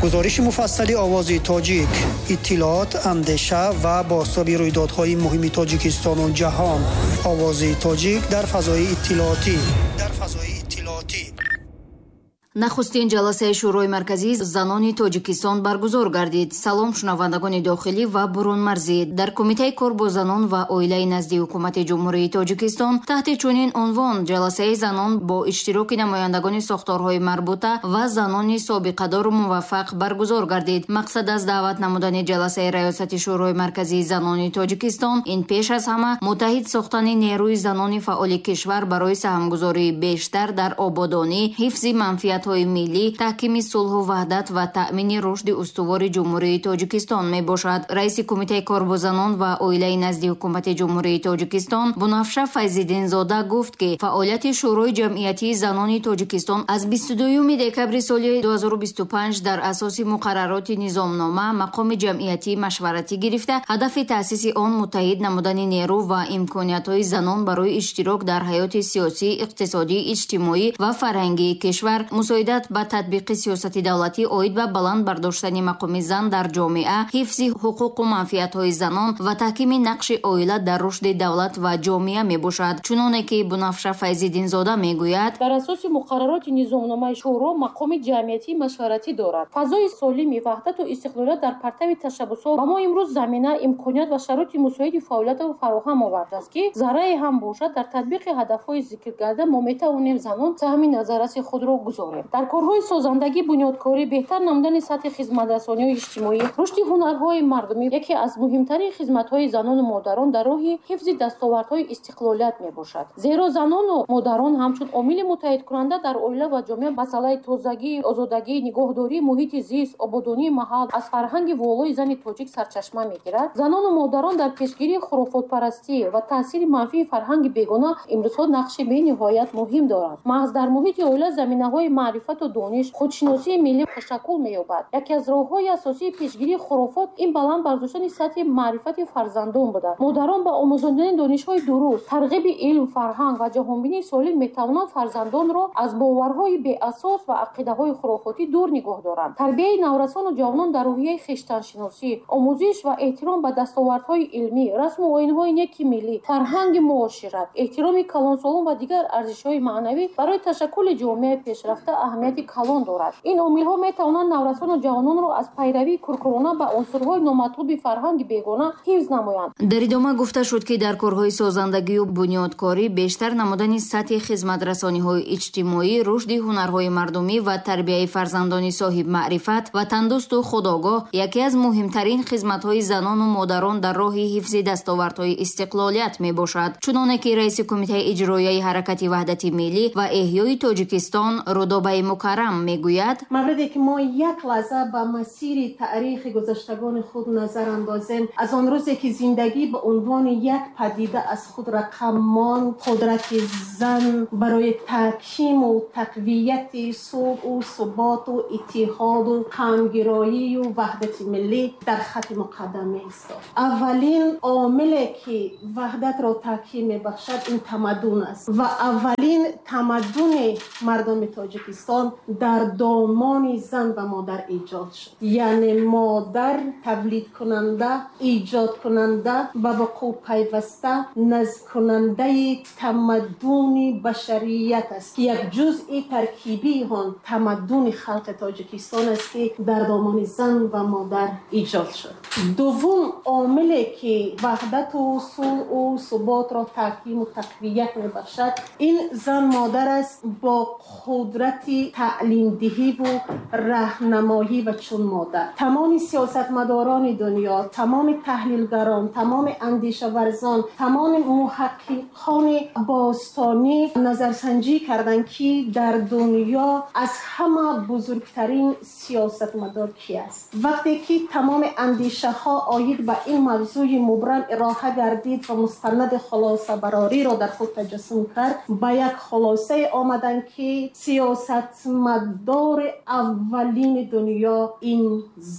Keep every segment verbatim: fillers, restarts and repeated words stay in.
Гузориши муфассали Овози Тоҷик, иттилоот, андеша ва бозтоби рӯйдодҳои муҳими Тоҷикистону ҷаҳон. Овози Тоҷик дар фазои иттилоотӣ. Дар фазои иттилоотӣ. Нахустин ҷаласаи Шӯрои марказии занони Тоҷикистон баргузор гардид. Салом, шунавандагони дохилӣ ва бурунмарзӣ. Дар Кумитаи кор бо занон ва оилаи назди Ҳукумати Ҷумҳурии Тоҷикистон таҳти чунин унвон ҷаласаи занон бо иштироки намояндагони сохторҳои марбута ва занони собиқадору муваффақ баргузор гардид. Мақсад аз даъват намудани ҷаласаи Раёсати Шӯрои марказии занони Тоҷикистон ин пеш аз ҳама муттаҳид сохтани нерӯи занони фаъоли кишвар барои саҳмгузории бештар дар ободонӣ, ҳифзи манфиат миллӣ, таҳкими сулҳу ваҳдат ва таъмини рушди устувори Ҷумҳурии Тоҷикистон мебошад. Раиси Кумитаи кор бо занон ва оилаи назди Ҳукумати Ҷумҳурии Тоҷикистон Бунафша Файзиддинзода гуфт, ки фаъолияти Шӯрои ҷамъиятии занони Тоҷикистон аз бисту дуюми декабри соли ду ҳазору бисту панҷ дар асоси муқаррароти низомнома мақоми ҷамъиятии машваратӣ гирифта, ҳадафи таъсиси он муттаҳид намудани нерӯ ва имкониятҳои занон барои иштирок дар ҳаёти сиёсӣ, иқтисодӣ, иҷтимоӣ ва фарҳангии кишвар, мусоидат ба татбиқи сиёсати давлатӣ оид ба баланд бардоштани мақоми зан дар ҷомеа, ҳифзи ҳуқуқу манфиатҳои занон ва таҳкими нақши оила дар рушди давлат ва ҷомеа мебошад. Чуноне ки Бунафша Файзиддинзода мегӯяд, дар асоси муқаррароти низомномаи шӯро мақоми ҷамъиятии машваратӣ дорад. Фазои солими ваҳдату истиқлолият дар партави ташаббусҳо ба мо имрӯз замина, имконият ва шароити мусоиди фаъолиятро фароҳам овардааст, ки заррае ҳам бошад дар татбиқи ҳадафҳои зикргардида мо метавонем занон саҳми назарраси худро гузорем. Дар корҳои созандагӣ, бунёдкорӣ, беҳтар намудани сатҳи хизматрасониҳои иҷтимоӣ, рушди ҳунарҳои мардумӣ яке аз муҳимтарин хизматҳои занону модарон дар роҳи ҳифзи дастовардҳои истиқлолият мебошад. Зеро занону модарон ҳамчун омили муттаҳидкунанда дар оила ва ҷомеа масъалаи тозагӣ, озодагӣ, нигоҳдории муҳити зист, ободонии маҳал аз фарҳанги волои зани тоҷик сарчашма мегирад. Занону модарон дар пешгирии хурофотпарастӣ ва таъсири манфии фарҳанги бегона имрӯзҳо нақши бениҳоят муҳим доранд. Маҳз дар муҳити оила заминаҳои маърифату дониш, худшиносии миллӣ ташаккул меёбад. Яке аз роҳҳои асосии пешгирии хурофот ин баланд бардоштани сатҳи маърифати фарзандон буда, модарон ба омӯзондани донишҳои дуруст, тарғиби илм, фарҳанг ва ҷаҳонбинии солим метавонанд фарзандонро аз боварҳои беасос ва ақидаҳои хурофотӣ дур нигоҳ доранд. Тарбияи наврасону ҷавонон дар рӯҳияи хештаншиносӣ, омӯзиш ва эҳтиром ба дастовардҳои илмӣ, расму оинҳои неки миллӣ, фарҳанги муошират, эҳтироми калонсолон ва дигар арзишҳои маънавӣ барои ташаккули ҷомеаи пешрафта аҳамияти калон дорад. Ин омилҳо метавонанд наврасону ҷавононро аз пайравии куркурона ба унсурҳои номатлуби фарҳанги бегона ҳифз намоянд. Дар идома гуфта шуд, ки дар корҳои созандагию бунёдкорӣ, бештар намудани сатҳи хизматрасониҳои иҷтимоӣ, рушди ҳунарҳои мардумӣ ва тарбияи фарзандони соҳибмаърифат, ватандӯсту худогоҳ яке аз муҳимтарин хизматҳои занону модарон дар роҳи ҳифзи дастовардҳои истиқлолият мебошад. Чуноне ки раиси Кумитаи иҷроияи Ҳаракати Ваҳдати Миллӣ ва Эҳёи Тоҷикистон Рудобаи Мукаррам мегӯяд, мавриде ки мо як лаҳза ба масири таърихи гузаштагони худ назар андозем, аз он рӯзе ки зиндагӣ ба унвони як падида аз худ рақам монд, қудрати зан барои таҳкиму тақвияти сулҳу суботу иттиҳоду ҳамгироию ваҳдати миллӣ дар хати муқаддам меистод. Аввалин омиле ки ваҳдатро таҳким мебахшад ин тамаддун аст ва аввалин тамаддуни мардуми Тоҷикистон дар домони зан ва модар эҷод шуд. Яъне модар тавлидкунанда, эҷодкунанда, ба вуқӯъ пайваста, назмкунандаи тамаддуни башарият аст, ки як ҷузъи таркибии он тамаддуни халқи Тоҷикистон аст, ки дар домони зан ва модар эҷод шуд. Дуввум омиле ки ваҳдату сулҳу суботро таҳкиму тақвият мебахшад ин зан модар аст бо қудрати таълимдиҳиву раҳнамоӣ ва чун модар. Тамоми сиёсатмадорони дунё, тамоми таҳлилгарон, тамоми андешаварзон, тамоми муҳаққиқони бостонӣ назарсанҷӣ карданд, ки дар дунё аз ҳама бузургтарин сиёсатмадор ки аст. Вақте ки тамоми андешаҳо оид ба ин мавзӯи мубрам ироҳа гардид ва мустанади хулосабарориро дар худ таҷассум кард, ба як хулосае омаданд, ки сиёсатмадори аввалини дунё ин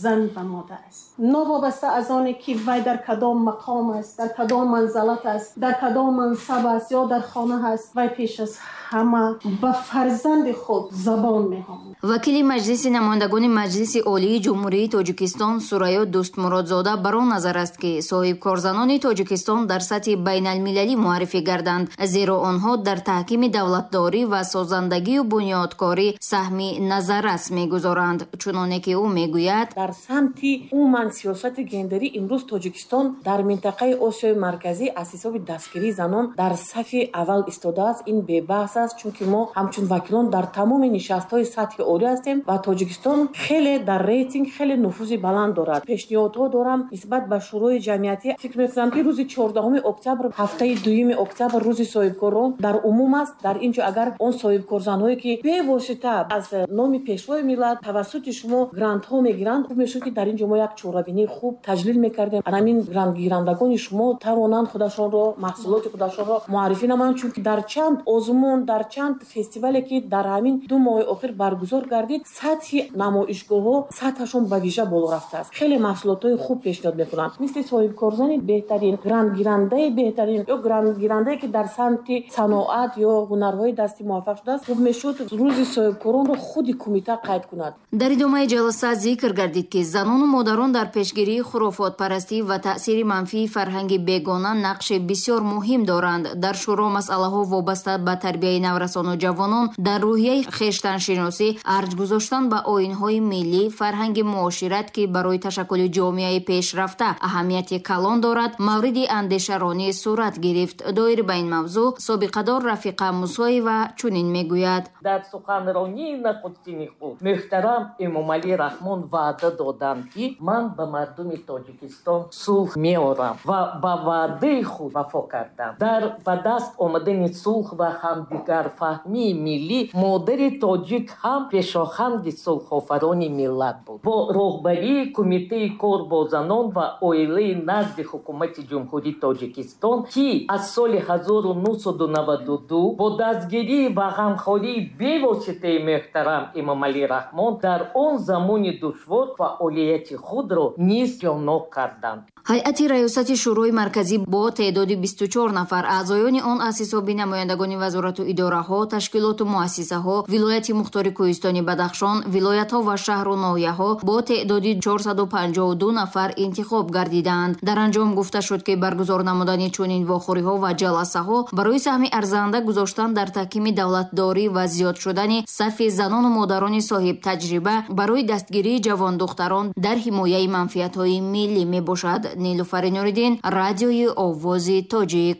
зан ва модар аст. Новобаста аз оне ки вай дар кадом мақом аст, дар кадом манзалат аст, дар кадом мансаб аст ё дар хона аст, вай пеш аз ҳама ба фарзанди худ забон меомӯзад. Вакили Маҷлиси намояндагони Маҷлиси Олии Ҷумҳурии Тоҷикистон Сурайё Дӯстмуродзода бар он назар аст, ки соҳибкорзанони Тоҷикистон дар сатҳи байналмилалӣ муаррифӣ гарданд, зеро онҳо дар таҳкими давлатдорӣ ва созандагию бунёдкорӣ саҳми назаррас мегузоранд. Чуноне ки ӯ мегӯяд, дар самти умуман сиёсати гендерӣ имрӯз Тоҷикистон дар минтақаи Осиёи Марказӣ аз ҳисоби дастгирии занон дар сафи аввал истодааст. Ин бебаҳс аст, чунки мо ҳамчун вакилон дар тамоми нишастҳои сатҳи олӣ ҳастем ва Тоҷикистон хеле дар рейтинг хеле нуфузи баланд дорад. Пешниҳодҳо дорам нисбат ба Шӯрои ҷамъиятӣ. Фикр мекунам, ки рӯзи чордаҳуми октябр, ҳафтаи дуюми октябр, рӯзи соҳибкорон дар умум аст. Дар ин ҷо агар он соҳибкорзанҳое ки бевосита аз номи Пешвои миллат тавассути шумо грантҳо мегиранд, хуб мешуд, ки дар ин ҷо мо як чорабинии хуб таҷлил мекардем. Ҳамин грантгирандагони шумо тавонанд худашонро, маҳсулоти худашонро муаррифӣ намоянд, чунки дар чанд озмун, дар чанд фестивале ки дар ҳамин ду моҳи охир баргузор гардид, сатҳи намоишгоҳҳо сатҳашон ба вижа боло рафтааст. Хеле маҳсулотҳои хуб пешниҳод мекунанд, мисли соҳибкорзани беҳтарин, грантгирандаи беҳтарин ё грантгирандае ки дар самти саноат ё ҳунарҳои дастӣ муваффақ шудааст. Хуб мешуд рӯзи соҳибкоронро худи кумита қайд кунад. Дар идомаи ҷаласа зикр гардид, ки занону модарон дар пешгирии хурофотпарастӣ ва таъсири манфии фарҳанги бегона нақши бисёр муҳим доранд. Дар шӯро масъалаҳо вобаста ба тарбияи наврасону ҷавонон дар рӯҳияи хештаншиносӣ, арҷ гузоштан ба оинҳои миллӣ, фарҳанги муошират, ки барои ташаккули ҷомеаи пешрафта аҳамияти калон дорад, мавриди андешаронӣ сурат гирифт. Доир ба ин мавзӯъ собиқадор Рафиқа Мусоева чунин мегӯяд: дар суханронии нахустини худ муҳтарам Эмомалӣ Раҳмон ваъда доданд, ки ман ба мардуми Тоҷикистон сулҳ меорам ва ба ваъдаи худ вафо кардам. Дар ба даст омадани сулҳ ва ҳамдигарфаҳмии миллӣ модари тоҷик ҳам пешоҳанги сулҳофарони миллат буд. Бо роҳбарии Кумитаи кор бо занон ва оилаи назди Ҳукумати Ҷумҳурии Тоҷикистон, ки аз соли ҳазору нӯҳсаду наваду ду бо дастгирӣ ва ғамхории бевоситаи муҳтарам Эмомалӣ Раҳмон дар он замони душвор фаъолияти худро низ ҷоннок карданд. Ҳайати раёсати Шӯрои Марказӣ бо теъдоди бисту чор нафар, аъзоёни он аз ҳисоби намояндагони вазорату идораҳо, ташкилоту муассисаҳо, вилояти мухтори Кӯҳистони Бадахшон, вилоятҳо ва шаҳру ноҳияҳо бо теъдоди чорсаду панҷоҳу ду нафар интихоб гардиданд. Дар анҷом гуфта шуд, ки баргузор намудани чунин вохӯриҳо ва ҷаласаҳо барои саҳми арзанда гузоштан дар таҳкими давлатдорӣ ва зиёд шудани сафи занону модарони соҳибтаҷриба барои дастгирии ҷавондухтарон дар ҳимояи манфиатҳои миллӣ мебошад. Нилуфари Нуриддин, радиои Овози Тоҷик.